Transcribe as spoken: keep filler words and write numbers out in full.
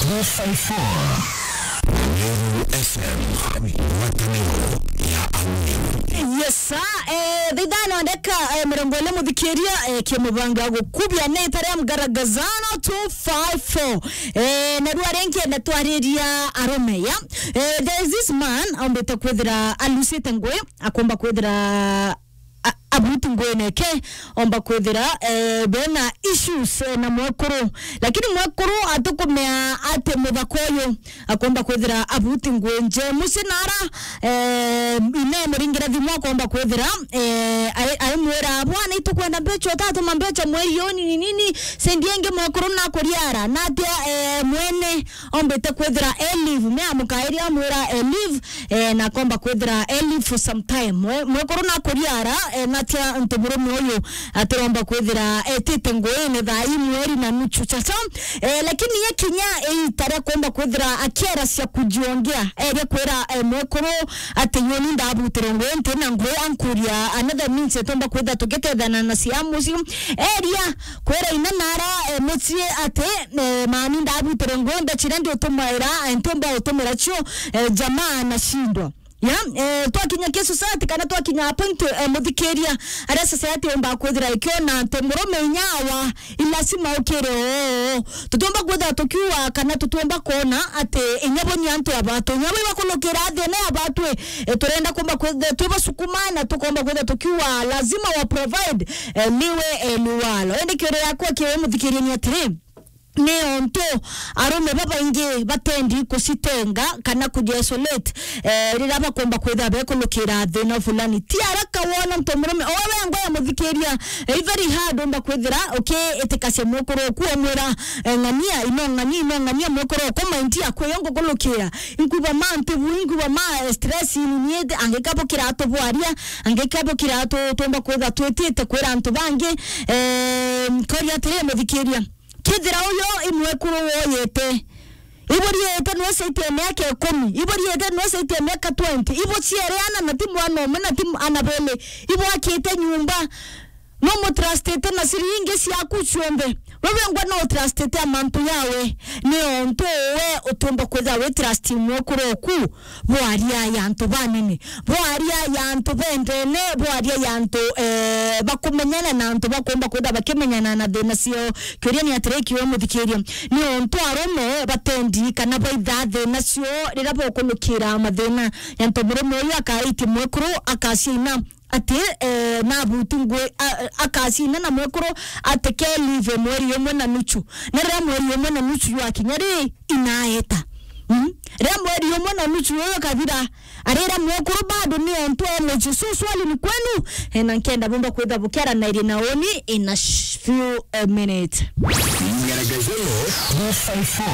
Two five four. Meru F M, ngwataniro ya Ameru. Yes, sir. Eh, thaa ithano ndeka, eh, mirongo ine muthikiria, eh, ki mubango wa gukubia ni itare mgaragazano two five four. Eh, na rua ringi na twariria arume, ya. Eh, there is this man, ombite kwithira alusite ngui, akomba kwithira a-, abuti ngwene ke, omba kwithira, eh, bena issues, eh, na mwekuru. Lakini mwekuru atukumea ati muthaka uyu akomba kwithira abuti ngwi nje. Mucii nara, eh, ine muringira thimu akomba kwithira, eh, ai-, aimwira, "Bwana, itukwenda mbecha, utatuma mbecha mweri uyu nini nini, sendi ingi mwekuru nakuriara." Natia, eh, mwene ombite kwithira e leave, me amukairia amwira e leave, eh, na akomba kwithira e leave for some time. Mwe-, mwekuru nakuriara, eh, natia ntu murume uyu atiromba kwithira etite nguine thaa imwe iri na nuchu chacha. Eh, lakini ye kinya iita ria kuomba kwithira akiera cia kujiongea, eria kwira, eh, mwekuru ati, "Nyoni ndabutire ngui nti na ngui ankuria another means etomba kwithira tugitethana na cia mucii." Eria kwira ina nara, eh, mucii ati, eh, "Mami ndabutire ngui mbecha iria ndiutumaira, eh, ntiumba utumira cio, eh, jamaa anashindwa." Ya, eh, twakinya ki society kana twakinya a point, eh, muthikiria, aria society yomba kwithira ikiona antu murume inya awa, i lazima ukire oo. Tutiumba kwithira tukiuga kana tutiumba kwona ati inya bo ni antu abatu. Inya bo ibakulukira thina ya batwi, eh, turenda kumba kwithira twi basukuma na tukomba kwithira tukiuga lazima wa provide, eh, liwe, eh, liwalo. Indi kiuria yakwa kiwe muthikiria ni atiri, ni ontu arume babaingi batendi kucitenga kana kuji isolate, eh, riria bakomba kwithira bekulukira thina fulani. Ti araka wona ntu murume, owe wengwa ya muthikiria, eh, i very hard umba kwithira ukiitikacia mwekuru oku omwira, eh, ng'ania, ino ng'ania, ino ng'ania mwekuru oku maindi akwe yongo kulukira. Inkuba ma ntibu, inkuba ma, eh, stress ni niete, angikabo kiratu bwaria, angikabo kiratu tumba kwithira twitite kwira antu bangi, eh, koria atiri muthikiria. Kethira uyo i mwekuru woyete, iburiite nwe saitie miaka ikumi, iburiite nwe saitie miaka twenty, ibuciereana na ti mwana umwe na ti ana beli, ibwakite nyumba, no mutrustite na ciringi ciaku cionthe. Wewe ngwa no utrustite amantu yawe, ni ontu we utumba kwithira wi trust mwekuru oku. Bwaria ya antu banene, bwaria ya antu bendene, bwaria ya antu, eh, bakumenyana na antu bakomba kwenda bakimenyana na thina cio. Kiuria ni atiri kiwe muthikiria, ni ontu arume batendi kana baitha thina cio riria bokulukira mathina ya antu murume uyu akaitie mwekuru akaciina ati, eh, nabuti ngui, a-, akacina na mwekuru ati ke leave mweri umwe na nuchu. Na riria mweri umwe na nuchu jwakinya ri, inaeta. Mm? Riria mweri umwe na nuchu uyu kathira, arira mwekuru bado ni ontu energy. So swali ni kwenu, eh, na nkenda bumba kwitha bukiaranairie na uni in a sh-, few, eh, minutes. Ngaragazelo two five four.